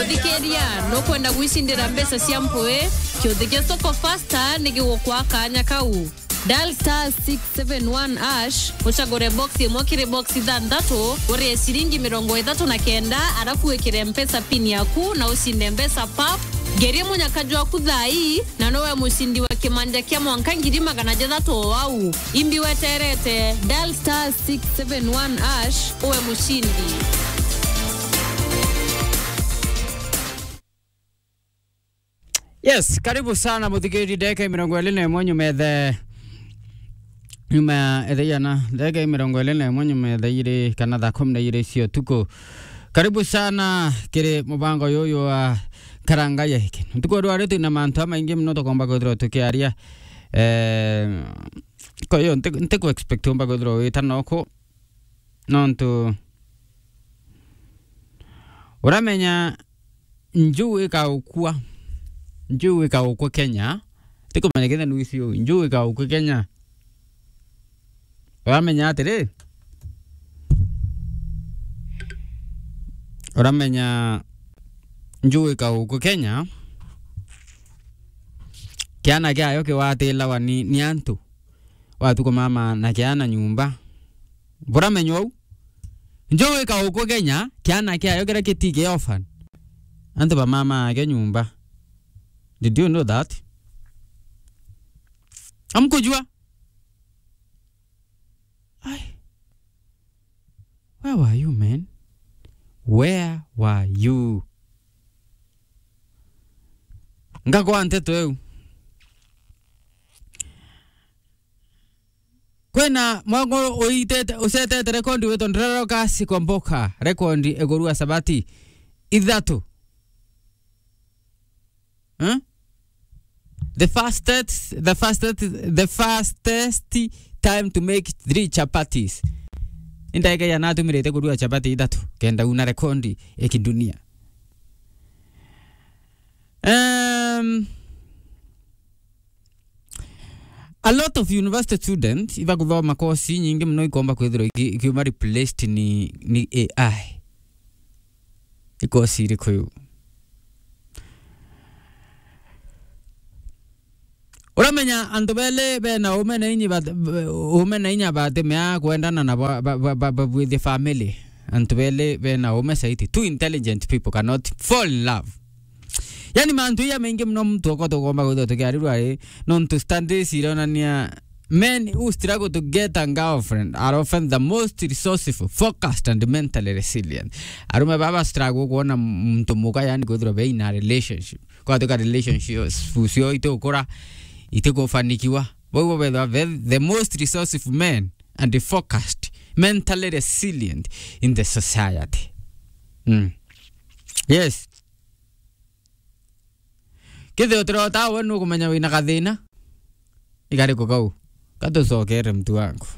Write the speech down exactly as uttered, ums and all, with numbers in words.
Thikiria, nukwenda gwicindira mbeca cia mpui? Kiuthi gia Soko Fasta ni gigukwa kanya kau. Dial star six seven one hash, ucagure box imwe kiri box ithanthatu, urie ciringi mirongo ithatu na kenda, arafu wikire Mpesa pin yaku na ucinde mbeca pap. Ngerie munyaka jwaku thaa ii, na nowe mucindi wa kimanja kia mwanka ngiri magana jathatu o au. Imbi weterete, dial star six seven one hash, uwe mucindi. Yes, karibu sana muthikiri, ndagika mirongo iri na imwe nyuma ethe, nyuma ya ethe yana, ndagika mirongo iri na imwe nyuma ethe iri kana thaa kumi na iri cia utuku. Karibu sana kiri mubango yuyu wa Karanga ya Hiki. Ntuku rwa riu twina mantu amaingi muno tukomba kwithirwa tukiaria. Eh, kwa hiyo nti, nti ku expect umba kwithirwa wita noku. Nontu uramenya njuu ikaukua, njuu ikaukua Kenya. Tikumenya kenda nuisi u, njuu ikaukua Kenya. Uramenya atiri, uramenya njuu ikaukua Kenya, kiana kiayo kiwatilawa ni, ni antu. Watuku mama na kiana nyumba. Buramenywa u? Njuu ikaukua Kenya, kiana kiayo kiria kitiki orphan. Antu ba mama ake nyumba. Did you know that? Amkujua? Ai. Where were you, man? Where were you? Ngagwa nteto eu. Kwina mwango uitete, ucetete rekondi witwa Ndrero Kasi kwa Mboka, rekondi iguru wa sabati ithatu. Eh? The fastest, the fastest, the fastest time to make three chapatis. Ni ndagika igana atumirite kurua chapati ithatu kenda una rekondi ya kidunia. Um, a lot of university students ibakuthoma kosi nyingi muno ikomba kwithirwa iki-, ikiuma replaced ni, ni A I. Ikosi iriku iu? Uramenya antu beli bena ume na inya bat-, ume na inya batimea kwendana na ba-, ba-, ba-, ba-, babwithie family. Antu beli bena ume saiti. Two intelligent people cannot fall in love. Yani mantu iya maingi muno muntu okwa tugomba gwithirwa tukiarirwa ri, nontu studies ironania men who struggle to get a girlfriend are often the most resourceful, focused and mentally resilient. Arume baba struggle kuona muntu muka, yani kwithirwa be in a relationship. Kwatuka relationship cio itukura, itikufanikiwa. Bau bo bethwa the, the most resourceful men and focused, mentally resilient in the society. Mm. Yes. Kethira utirota we nukumenya wina gathina. Igari kukau. Katucokere mtu wangu.